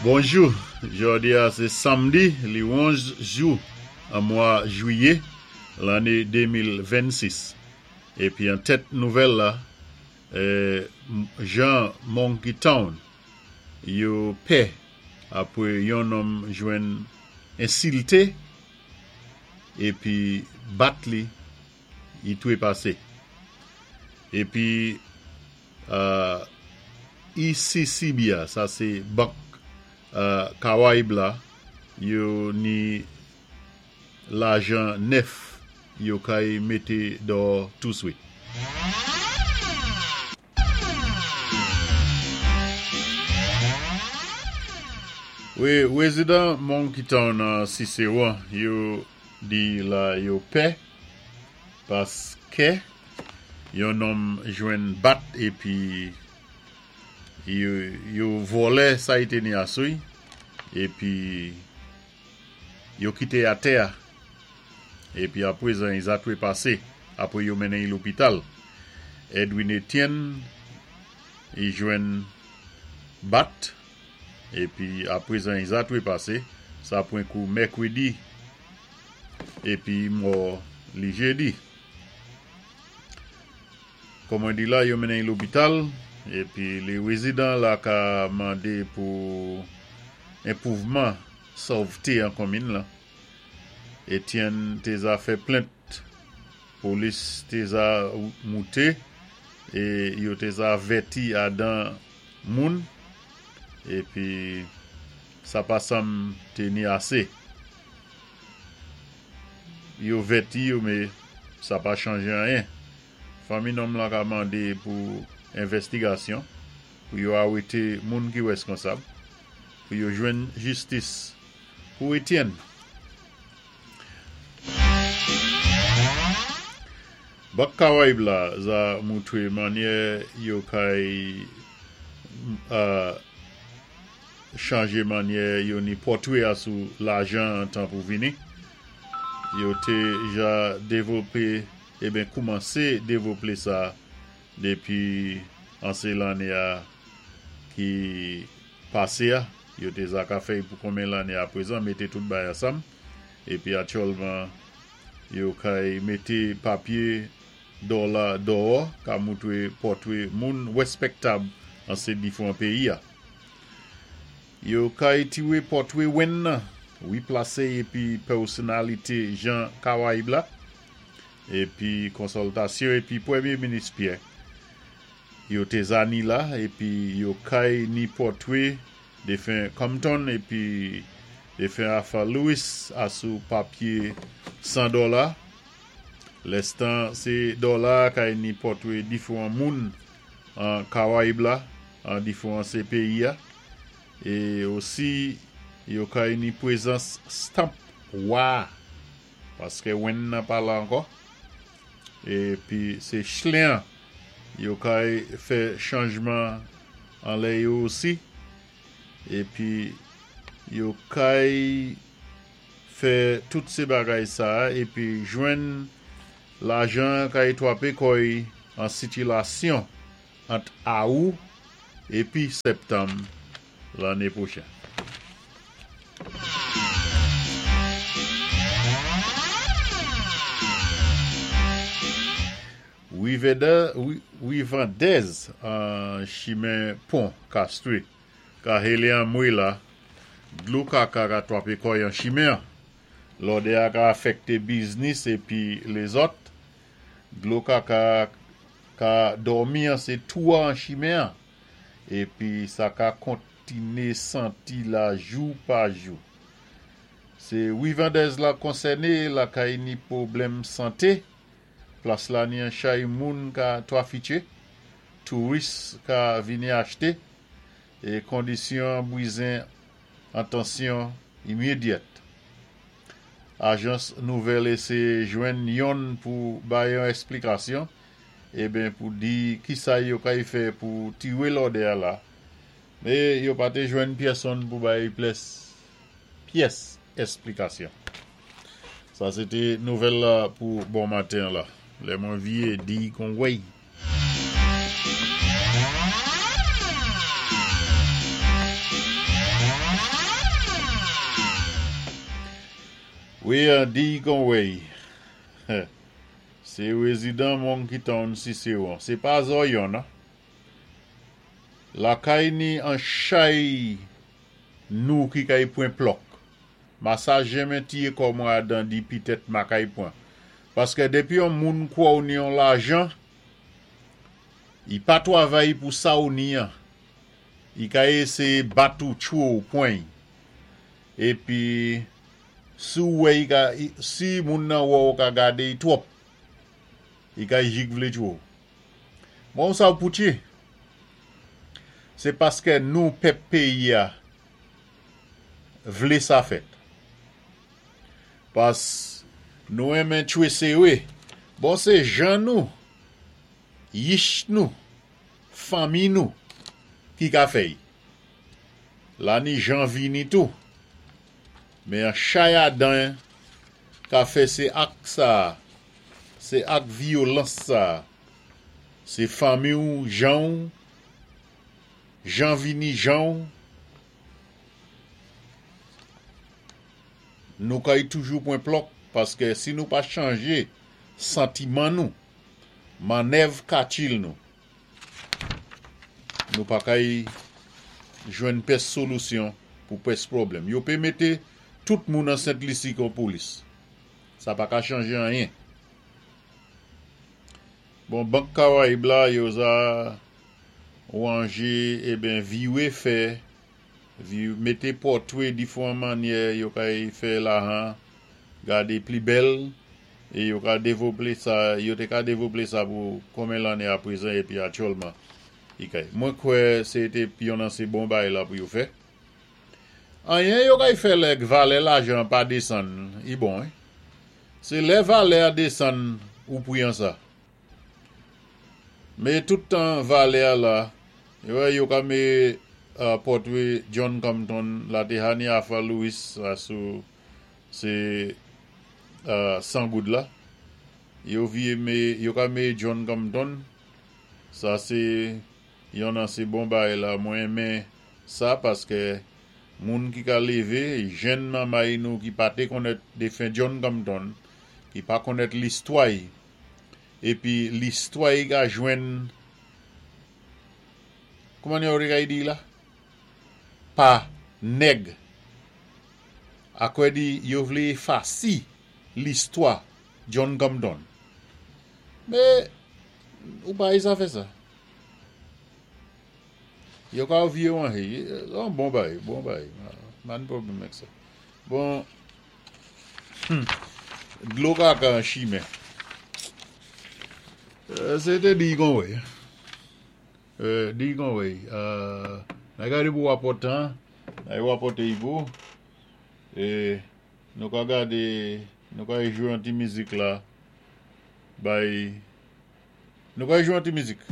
Bonjou, jòdi a sé samdi li 11 jou an mwa jwiyé lanné 2026. Épi an tèt nouvèl la, jan Monkey Town yo pè apwé yon nonm jwenn ensilté épi bat li i twépasé. Épi ECCB a, sa sé bank Kawayib la, yo ni lajan nèf yo kay mété dò touswit. Wi, rezidan Monkey Town an Ciceron yo di la yo pè paskè yon nonm jwenn bat épi yo vòlè sa i té ni asou i épi yo kité atè a épi aprezan i zatwe pasé apwé yo mennen i lopital. Edwin Etienne i jwenn bat épi aprezan i zatwe pasé, sa pwan kou mèkwédi épi i mò li jédi. Kòm mwen di la, yo mennen i lopital épi lé rézidan la ka mandé pou enpwouvman sòvté an konminn lan. Etienne té za fè plent, polis té za mouté é yo té za avèti adan moun épi sa pa sanm té ni asé. Yo vèti yo mé sa pa chanje anyen. Fanmi nonm lan ka mandé pou envèstigasyon, pou yo awété moun ki wèskonsab, pou yo jwenn jistis pou Etienne. Bank Karayib la za moutwé mannyè yo kay chanje mannyè yo ni pòtwé asou lajan an tan pou vini. Yo té ja devlopé, eben koumansé devloplé sa dépi an sé lanné a ki pasé a. Yo té za ka fè-y pou konbyen lanné aprezan, mété tout bay ansanm. Épi aktyèlman yo kay mété papyé dòla dòwò ka moutwé pòtwé moun wèspèktab an sé difwan péyi a. Yo kay tiwé pòtwé Wenn nan, wi plasé-y épi pèsonalité jan Kawayib la, épi konsòltasyon épi Pwèmyé Minis Pyè. Yo té za ni la épi yo kay ni pòtwé défen Compton épi défen Arthur Lewis asou papyé 100 dòla. Lèstan sé dòla kay ni pòtwé difwan moun an Kawayib la, an difwan sé péyi a. É osi yo kay ni pwézans stamp wa a, paskè wenn nan pa la ankò. Épi sé chlen an yo kay fè chanjman anlè yo osi. Épi yo kay fè tout sé bagay sa épi jwenn lajan kay twapé kò-y an sitilasyon ant Awou épi Sèptanm lanné pwochen. Wivandèz an chimen pon Kastri ka hélé anmwé la, dlo kaka ka twapé kò-y an chimen an. Lòdè a ka afèkté biznis épi lézòt. Dlo kaka ka dòmi an sé twou an chimen an épi sa ka kontiné santi la jou pa jou. Sé Wivandèz la konsèné lakay ni pwoblèm santé. Plas la ni an chay moun ka twafitché, touris ka vini achté, é kondisyon an bwizen antansyon imedyèt. Ajans nouvèl éséyé jwenn yonn pou bay yon èsplikasyon, eben pou di kisa yo kay fè pou tiwé lòdè a la, mé yo pa té jwenn pyèsonn pou bay plès pyès èsplikasyon. Sa sé té nouvèl la pou bon maten an la. Lè mwen viyé di kon wèy. Wi, di Conway. Sé wézidan Monkey Town Ciceron. Sé pa zòyon nan. Lakay ni an chay nou ki kay pwan plòk. Ma sa jenmen tiyé kò mwen adan di pitèt ma kay pwan. Paskè dépi yon moun kwè ou ni yon lajan, i pa twavay pou sa ou ni an. I ka éséyé bat ou tchwé ou pwan y. Épi si ou wè i ka si moun nan wè ou ka gadé y twòp, i ka jik vlé tchwé ou. Bon sa ou poutye. Sé paskè nou pèp péyi a vlé sa fèt. Pas nou renmen tchwé séwé. Bon sé jan nou, yich nou, fanmi nou ki ka fè y. La ni jan vini tou. Men an chay adan ka fè sé ak sa, sé ak vyolans sa. Sé fanmi ou jan ou, jan vini jan ou. Nou kay toujou pwan plòk paskè si nou pa chanjé santiman nou, mannèv katil nou, nou pa kay jwenn pès solisyon pou pès pwoblèm. Yo pé mété tout moun an Sent Lisi kon polis. Sa pa ka chanje anyen. Bon, Bank Karayib la, yo za wanjé, eben viwé fè, vi mété pòtwé difwan mannyè yo kay fè lahan gadé pli bèl é yo ka dévoplé sa, yo té ka dévoplé sa pou konmen lanné aprezan épi aktyèlman i kay. Mwen kwè sé té yon nan sé bon bagay la pou yo fè. Anyen yo kay fè lè valè lajan pa désann, i bon, wi. Sé lè valè a désann ou pwi an sa. Mé tout tan valè a la, yo wè yo ka mé pòtwé John Compton la té hani Arthur Lewis sa sou sé 100 goud la. Yo vyé mé, yo ka mé John Compton, sa sé yon nan sé bon bagay la. Mwen renmen sa paskè moun ki ka lévé, jenn manmay nou ki pa té konnèt défen John Compton, ki pa konnèt listwa-y, épi listwa-y ka jwenn, kouman yo kay di la? Pa nèg. Akwè di yo vlé éfasi listwa John Compton. Mé ou pa sa fè sa. Yo ka vye wan hey, an bon bagay, bon bagay. Man pwoblèm ak sa. Bon, dlo kaka an chimen. Se té di kon wè. Di kon wè. Na gade pou wapòtan, na yi wapòte yi pou. E nou ka gade, nou ka jwe an ti mizik la. Bay, nou ka jwe an ti mizik.